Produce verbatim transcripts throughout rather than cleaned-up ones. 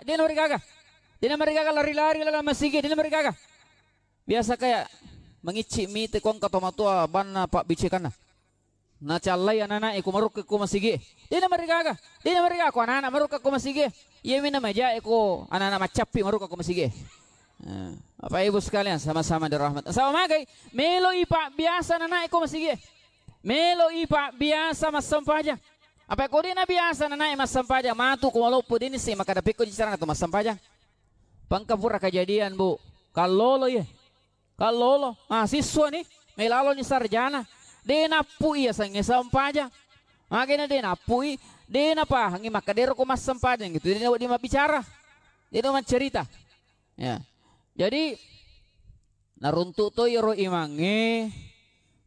Dena marigaga. Dena marigaga lari-lari lalang masigi, dena marigaga. Biasa kayak mengicci mite ko engka tomatoa banna pabbicekanna. Nacallai anana'e ko marukka ko masigi. Dena marigaga. Dena marigaga ko anana marukka ko masigi. Iyami namajae ko anana maccappi marukka ko masigi. Eh, Bapak Ibu sekalian sama-sama dirahmati. Sama magai, meloi pabbiasa anana'e ko masigi. Meloi pabbiasa massempajang. Apa ko dena biasa anana'e massempajang, matu ko maloppo dena si makkada pekko ji carana tu massempajang. Pangka pura kejadian, Bu. Kallolo iye. Kallolo. Mahasiswa ni, melaloni sarjana. De nappu iya sangnge sempajang. Makanya de nappu i, de napahangi makkadero ko massempajang gitu. De wedding mabbicara. De wedding maccerita. Ya. Jadi naruntuk to iyaro imangnge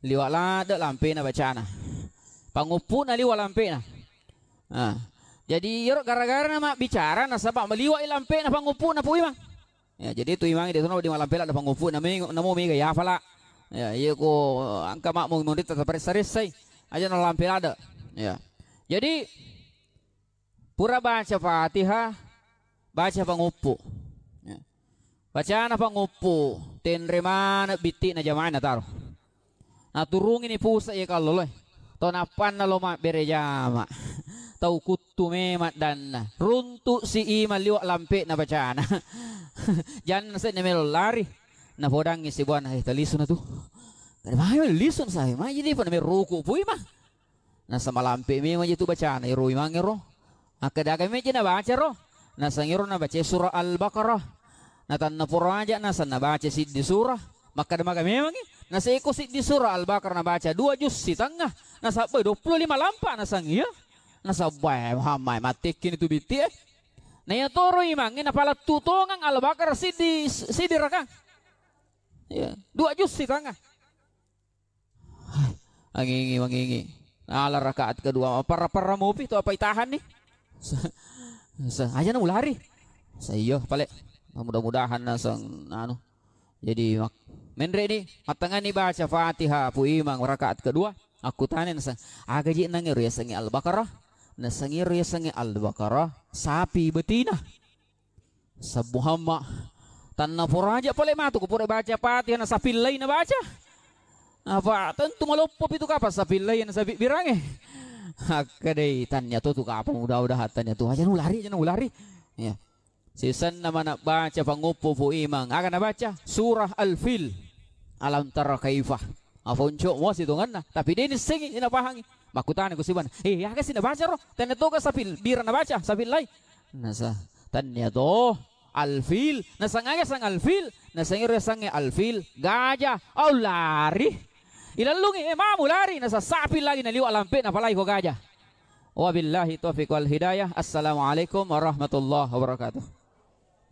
liwa ladde lampena bacana. Panguppu'na liwa lampena. Nah, jadi iyaro gara-gara na mabbicara nasaba maliwa i lampena panguppu'na Pu Imang. Ya, jadi tu imangnge de tono di malampe ladde panguppu'na me-, namo mega yafala. Ya, iya ko engka makmu munritta taparessa-ressai. Aja na lampe ladde. Ya. Jadi pura baca Fatihah, baca panguppu. Ya. Bacana panguppu, tenre maneng bitti'na jamaah nataro. Naturungini pusa iya kalloloe. To nappanna lo mabbere jama. Tau kuttu memang danna. Runtuk si imang liwa lampe'na bacana. Janna seddi melo lari. Napodangngi sibuana, eh, talisuna tu. Kada mai lisu na sae, mai jadi pada meruku pui mah. Nasaba malampe memang je tu bacana ero imangngero. Makkeda aga meja nabaca ro? Naseng ero nabaca surah Al-Baqarah. Natanna pura aja naseng nabaca siddi surah. Makkeda maga memangngi? Naseko siddi surah Al-Baqarah nabaca dua juz sitengah. Nasabbai dua puluh lima lampa naseng iya. Nasabbai Muhammad mattekkini tu bitti e. Na iya toro imangnge napalettu tongang Al-Baqarah siddi, siddi rakang. Iya, dua juz sitengah. Angingi, mangingi. Ala rakaat kedua, parra-parra mupi tu apa itahan nih? Sa-, sa-, aja na mulari. Sa-, iyo, pale. Mudah-mudahan naseng anu. Jadi mak-, menre ni, mattangani baca Fatihah Pu Imang rakaat kedua. Aku tanya naseng, aga ji nangero yasengnge Al-Baqarah? Naseng ero yasengnge Al-Baqarah, sapi betina. Sabbu hamma. Tanna poraja pale matu ko pura baca Fatihah na sapillai na baca. Apa tentu maloppo pitu kapang sapillai na sabibbirange. Hakka dei tannia to tu kapang mudah-mudahan tannia tu aja nulari aja nulari. Ya. Sisenna mana baca panguppu Pu Imang. Aga na baca? Surah Al-Fil. Alam tara kaifa. Aponco mo sitonganna. Tapi deni sengi ina pahangi. Makkutana ku sibana. Eh, aga sih na baca ro? Tannia to ga sapil bira na baca sapillai. Nasa, tannia to, alfil, naseng aga sang alfil, naseng ero yasengnge alfil, gajah, au lari. Ilallungi, eh, mamu lari, nasa sapi lagi naliwa lampe napalai ko gajah. Wabillahi taufiq wal hidayah. Assalamualaikum warahmatullahi wabarakatuh.